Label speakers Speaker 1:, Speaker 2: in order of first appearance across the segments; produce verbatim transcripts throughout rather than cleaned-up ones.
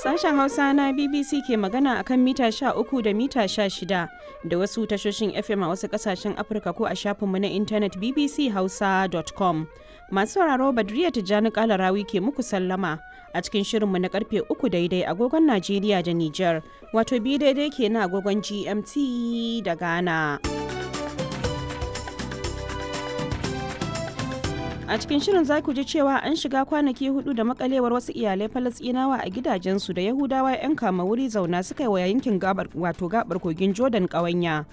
Speaker 1: Sashen Hausa na B B C ke magana akan mita sha uku da mita sha shida da wasu tashoshin F M a wasu kasashen Afirka ko a shafinmu na intanet B B C hausa dot com. Masu sauraro, Badriya Tijjani Kalarawi ke muku sallama a cikin shirinmu na karfe uku daidai agogon Najeriya da Nijar, wato biyu daidai ke na agogon G M T da Ghana. A cikin shirin za ku ji cewa an shiga kwanaki hudu da makalewar wasu iyalai Falasɗinawa a gidajensu da Yahudawa 'yan kama wuri zauna suka yi wa yankin gabar, wato gabar kogin Jordan, ƙawanya.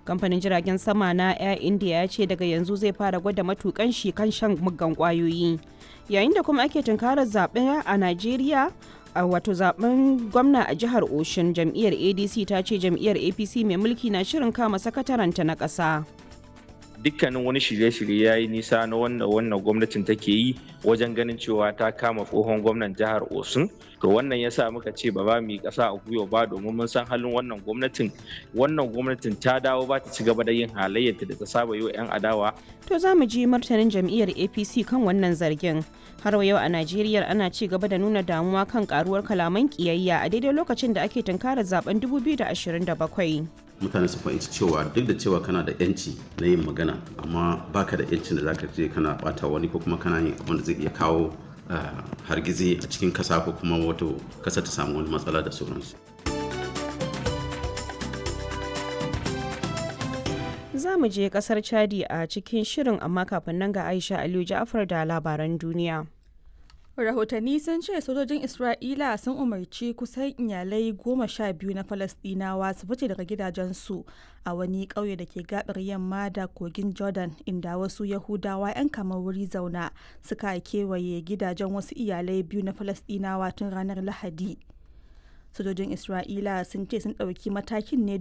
Speaker 1: Kamfanin jiragen sama na Air India ya ce daga yanzu zai fara gwada matukan shi kan shan muggan kwayoyi. Yayin da kuma ake tunkarar zaɓe a Najeriya, a wato zaben gwamna a jihar Oshun, jam'iyyar A D C ta ce jam'iyyar A P C mai mulki na shirin kama sakataranta na ƙasa.
Speaker 2: Dukkanin wani shirye-shirye ya yi nisa na wannan wannan gwamnatin take yi wajen ganin cewa ta kama tsohon gwamnan jihar Osun. To, wannan ya sa muka ce ba za mu yi ƙasa a gwiwa ba, domin mun san halin wannan gwamnatin. Wannan gwamnatin ta dawo ba ta ci gaba da yin halayyarta da ta saba yi wa 'yan adawa.
Speaker 1: To, za mu ji martanin jam'iyyar A P C kan wannan zargin. Har yau a Najeriya, ana ci gaba da nuna damuwa kan karuwar kalaman kiyayya a daidai lokacin da ake tunkarar zaben dubu biyu da ashirin da bakwai.
Speaker 3: Mutane su fahimci cewa duk da cewa kana da yanci na yin magana, amma baka da yancin da zaka je kana bata wani ko kuma kana yin abin da zai iya kawo hargitsi a cikin kasa ko kuma wato kasa ta samu wani matsala da sauransu.
Speaker 1: Za mu je kasar Chadi a cikin shirin, amma kafin nan ga Aisha Aliyu Ja'afar da labaran duniya.
Speaker 4: Rahotanni sun ce sojojin Isra'ila sun umarci kusan iyalai goma sha biyu na Falasɗinawa su fice daga gidajensu a wani ƙauye da ke gabar yamma da kogin Jordan, inda wasu Yahudawa 'yan kamar wuri zauna suka kewaye gidajen wasu iyalai biyu na Falasɗinawa tun ranar Lahadi. Sojojin Isra'ila sun ce sun ɗauki matakin ne.